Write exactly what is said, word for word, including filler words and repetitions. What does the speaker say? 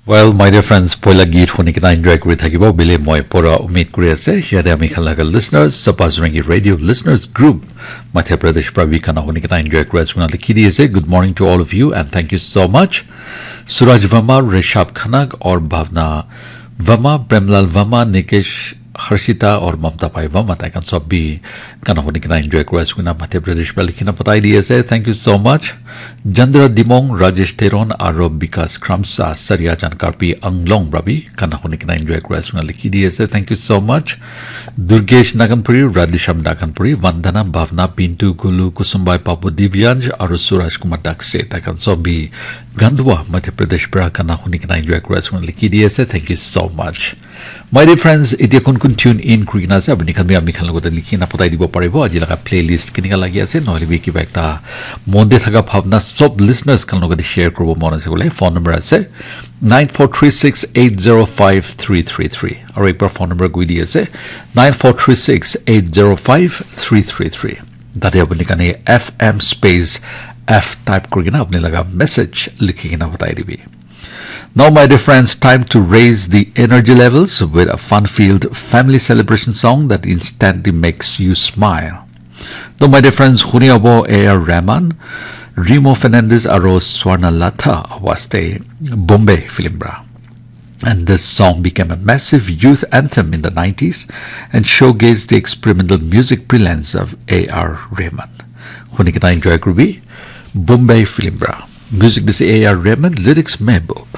Well, my dear friends, poila geet huni kena enjoy kuri thakibo bile moi pura umid kuri ase. Yate ami khan laga listeners, Sapa Zurangi Radio Listeners Group, Madhya Pradesh pra bi gana huni kena enjoy kuri ase koina likhi di ase. Good morning to all of you and thank you so much. Suraj Verma, Rishabh Khanag aur Bhavna Verma, Premlal Verma, Nikesh Harshita aur Mamta Pai Verma, tai khan sob bi gana huni kena enjoy kuri ase koina Madhya Pradesh pra likhi na patai di ase. Thank you so much. Chandra Dimong, Rajesh Teron, aro Bikas Kramsa, Sariajan Karpi Anglong pra bi gana huni kena enjoy kuri ase koina likhi di ase. Thank you so much. Durgesh Naganpuri, Radhisham Naganpuri, Vandana, Bhavna, Pintu, Gulu, Kusumbai, Papu, Divyansh, aro Suraj Kumar Dakse, tai khan sob bi Gandwa, Madhya Pradesh pra gana huni kena enjoy kuri ase koina likhi di ase. Thank you so much. My dear friends, itia kun kun tune in kuri kena ase, apni khan bi ami khan logote likhi na patai dibo paribo. Aji laga playlist kenika lagi ase, nohole bi kiba ekta mon te thaka bhabna sob listeners khan logote share kuribo mon ase koile, phone number ase nine four three six eight zero five three three three. Aro ekbar phone number koi di ase, nine four three six eight zero five three three three. Tate apni khan F M space F type kuri kena apni laga message likhi kena patai dibi. Now, my dear friends, time to raise the energy levels with a fun-filled family celebration song that instantly makes you smile. To, my dear friends, huni abo A R Rahman, Remo Fernandez aro Swarna Latha awaste Bombay film bra. And this song became a massive youth anthem in the nineties and showcased the experimental music brilliance of A R Rahman. Huni kena enjoy kuri bi, Bombay film bra. Music dise A R Rahman, lyrics Mehboob.